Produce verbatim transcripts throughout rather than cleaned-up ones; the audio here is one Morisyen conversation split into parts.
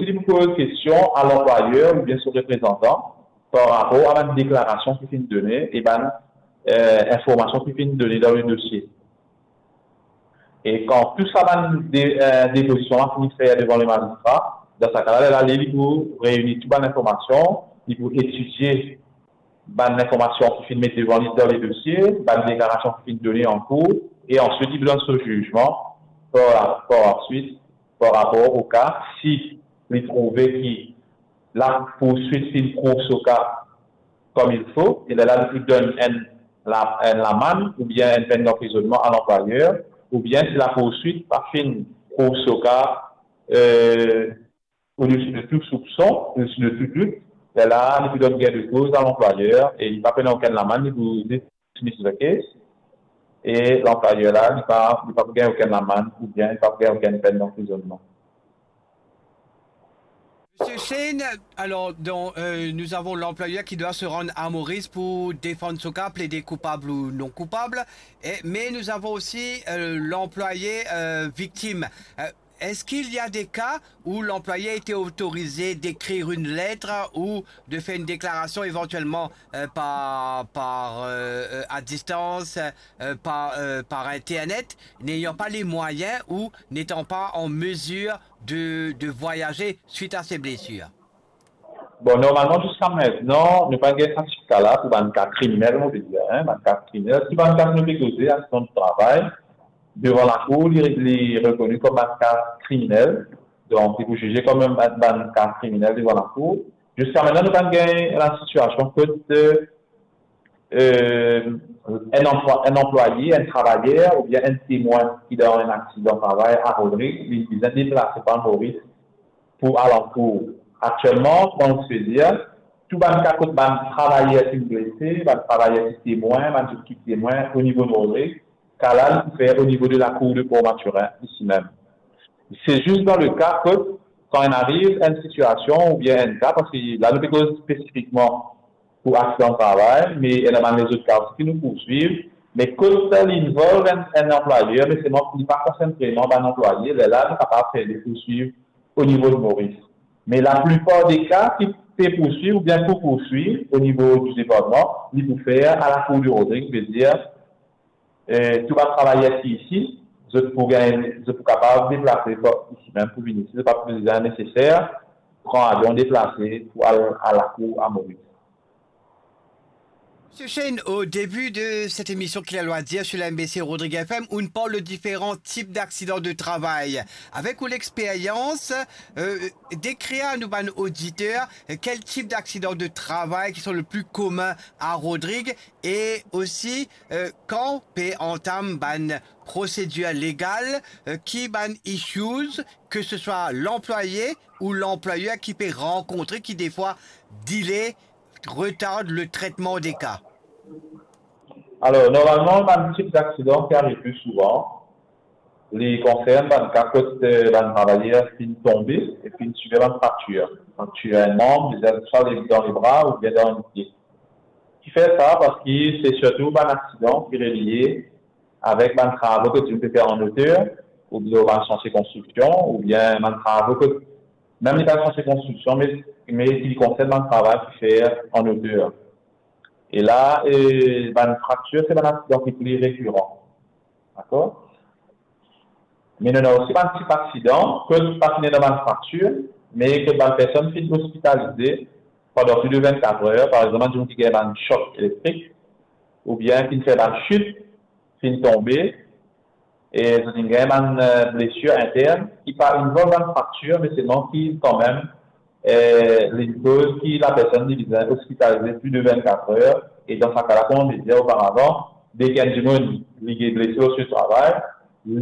li pou poz kestion a lanplwayer oubien so reprezantan par rapor a bann deklarasion ki finn done e bann, eh, informasion ki finn done dan le dosie. E kan tou sa bann de-, eh, depozision la fini fer devan le mazistra, dan sa ka la, lerla li, li pou reini tou bann informasion, li pou etidie bann informasion ki finn met devan li dan le dosie, bann deklarasion ki finn done an kour, e answit li pou donn so zizman par, par answit, par rapor o ka, si li trouve ki lapoursuit finn prouv so ka kom il fo, e lerla li pou donn enn la-, enn lamann oubien enn penn danprizonnman a lanplwayer, oubien si lapoursuit pa finn prouv so ka, eh, odesi de tou soupson, odesi de tou dout, lerla li pou donn gin de koz a lanplwayer e li pa pou ena okenn lamann, li pou dismiss the case, e lanplwayer la, li pa, li pa pou gagn okenn lamann oubien li pa pou gagn okenn penn danprizonnman. Monsieur Shane, alors, donc, euh, nous avons l'employeur qui doit se rendre à Maurice pour défendre son cas, plaider coupable ou non coupable. Et, mais nous avons aussi, euh, l'employé, euh, victime. Euh, est-ce qu'il y a des cas où l'employé a été autorisé d'écrire une lettre ou de faire une déclaration éventuellement, euh, par, par, euh, euh, à distance, euh, par, euh, par Internet, n'ayant pas les moyens ou n'étant pas en mesure de, de voyager suite à ses blessures? Bon, normalman, ziska aster, nou pa gagn sa tip ka la pou bann ka kriminel, mo pe dir, hein, bann ka kriminel. Si bann ka nou pe koze, aksidan di travay, devan lakour, li, li rekoni kom bann ka kriminel. Donk, li pou zize kom bann, bann ka kriminel devan lakour. Ziska aster, nou pa gagn la sitiasion kot, eh, eh, enn anplwa-, enn anplwaye, enn travayer oubien enn temwin ki dan enn aksidan travay a Rodrig, li bizin deplase par Moris pou al an kour. Aktielman, kouma nou pe dir, tou bann ka kot bann travayer ki blese, bann travayer ki temwin, bann dimoun ki temwin o nivo Rodrig, ka la li pou fer o nivo de lakour de Port Mathurin, isi mem. Se zis dan le ka kot, kan inn ariv enn sitiasion oubien enn ka, parski la nou pe koz spesifikman pou aksidan travay, me ena bann lezot ka osi ki nou pou swiv, me kot li involve enn, enn anplwayer, me selman li pa konsern vreman bann anplwaye, lerla nou kapav fer de pouswiv o nivo de Moris. Me laplipar de ka ki pe pouswiv oubien pou pouswiv o nivo di departman, li pou fer a lakour de Rodrig, vedir, eh, tou bann travayer ki isi, zot pou gagn, zot pou kapav deplase par isi mem pou vinn isi, zot pa pou bizin neseser pran avion deplase pou al a lakour a Moris. Monsieur Shane, au début de cette émission Ki Lalwa Dir sur la M B C Rodrig F M, on parle de différents types d'accidents de travail. Avec ou lexperyans, euh, dekrir a nou bann oditer, euh, kel tip d'aksidan de travay ki sont le plus commun a Rodrig e osi, euh, kan pe antam bann prosedir legal, euh, ki bann issues, ke se swa lanplwaye ou lanplwayer ki pe rankontre, ki defwa delay, retard le traitement des cas? Alor, normalman, bann tip d'aksidan ki ariv pli souvan, li konsern bann ka kot, eh, bann travayer finn tonbe e finn sifir bann fraktir. Fraktir enn manb, bizin swa dan lebra oubien dan enn pie. Ki fer sa, parski se sirtou bann aksidan ki relie avek bann travo kot dimoun pe fer an oter, oubien bann santie konstriksion, oubien bann travo kot, mem li pa santie konstriksion, me, me ki konsern bann travay ki fer an oter. E la, eh, bann fraktir, se bann aksidan ki pli rekiran. Dakor? Me nou ena osi bann tip aksidan, kot pa finn ena bann fraktir, me kot bann personn finn ospitalize pandan plis de vennkat er, par exanp, bann dimoun ki gagn bann sok elektrik, oubien ki finn fer bann sit, finn tonbe, e zot inn gagn bann, eh, blesir intern, ki pa involve bann fraktir, me selman ki kanmem, eh, li koz ki lapersonn li bizin ospitalize plis de vennkat er, e dan sa ka la, kouma mo dir oparavan, deki enn dimoun li gagn blese lor travay,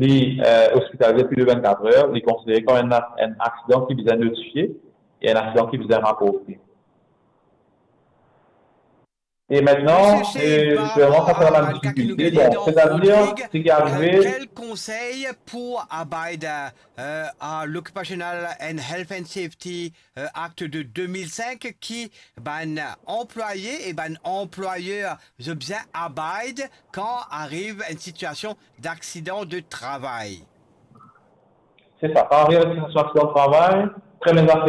li, eh, ospitalize plis de vennkat er, li konsidere kom enn, enn aksidan ki bizin notifie, e enn aksidan ki bizin raporte. E mintnan, Monsieur Shane, eh, par rapport à la bann difikilte, bon, setadir, seki arive, euh, quel conseil pour abide, euh, à l'Occupational and Health and Safety, euh, Act de deux mille cinq, ki bann anplwaye e bann anplwayer zot bizin abide kan ariv enn sitiasion d'aksidan de travay? Se sa, kan ariv enn sitiasion aksidan travay, kan enn zafer